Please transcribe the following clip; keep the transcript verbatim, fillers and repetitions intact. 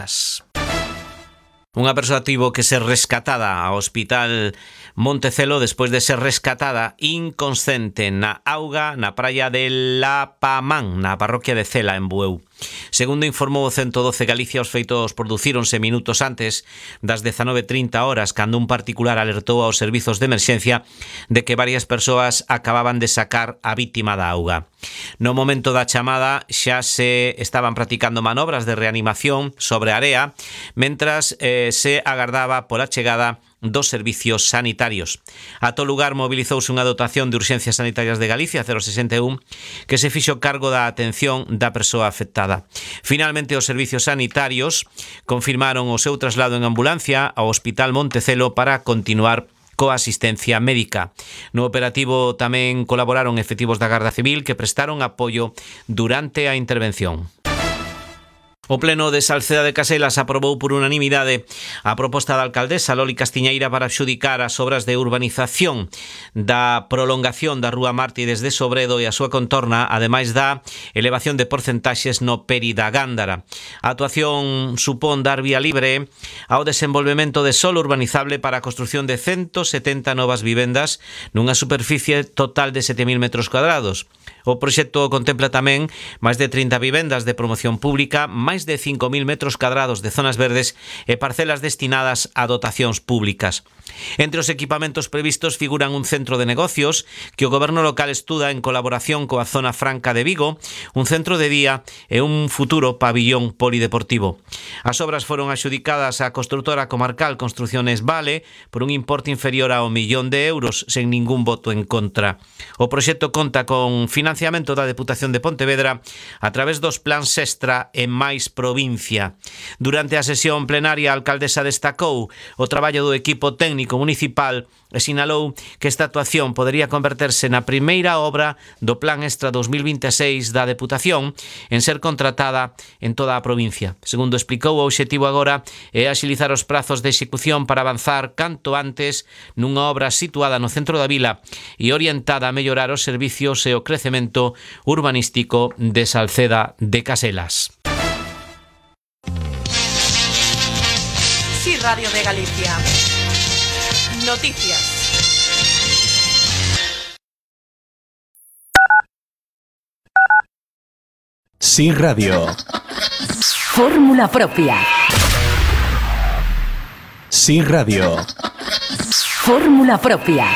Vallecas. Unha persoa tivo que ser rescatada ao Hospital Montecelo despois de ser rescatada inconsciente na auga na praia de Lapamán, na parroquia de Cela, en Bueu. Segundo informou o ciento doce Galicia, os feitos producíronse minutos antes das dezanove trinta horas, cando un particular alertou aos servizos de emerxencia de que varias persoas acababan de sacar a vítima da auga. No momento da chamada xa se estaban practicando manobras de reanimación sobre a area, mentras eh, se agardaba pola chegada dos servicios sanitarios. A todo lugar mobilizouse unha dotación de urxencias sanitarias de Galicia cero sesenta e un que se fixo cargo da atención da persoa afectada. Finalmente, os servicios sanitarios confirmaron o seu traslado en ambulancia ao Hospital Montecelo para continuar coa asistencia médica. No operativo tamén colaboraron efectivos da Garda Civil que prestaron apoio durante a intervención. O Pleno de Salceda de Caselas aprobou por unanimidade a proposta da alcaldesa Loli Castiñeira para adxudicar as obras de urbanización da prolongación da Rúa Mártires de Sobredo e a súa contorna, ademais da elevación de porcentaxes no Peri da Gándara. A actuación supón dar vía libre ao desenvolvemento de solo urbanizable para a construción de ciento setenta novas vivendas nunha superficie total de sete mil metros cuadrados. O proxecto contempla tamén máis de trinta vivendas de promoción pública, máis de cinco mil metros cuadrados de zonas verdes e parcelas destinadas a dotacións públicas. Entre os equipamentos previstos figuran un centro de negocios que o goberno local estuda en colaboración coa Zona Franca de Vigo, un centro de día e un futuro pabillón polideportivo. As obras foron adxudicadas á construtora comarcal Construcciones Vale por un importe inferior ao millón de euros sen ningún voto en contra. O proxecto conta con financiamento da Deputación de Pontevedra a través dos plans Extra e máis provincia. Durante a sesión plenaria, a alcaldesa destacou o traballo do equipo técnico municipal e sinalou que esta actuación podería converterse na primeira obra do Plan Extra dos mil vinte e seis da Deputación en ser contratada en toda a provincia. Segundo explicou, o obxectivo agora é axilizar os prazos de execución para avanzar canto antes nunha obra situada no centro da vila e orientada a mellorar os servicios e o crecemento urbanístico de Salceda de Caselas. Sí, Radio de Galicia. Noticias. Sí, Radio. Fórmula propia. Sí, Radio. Fórmula propia.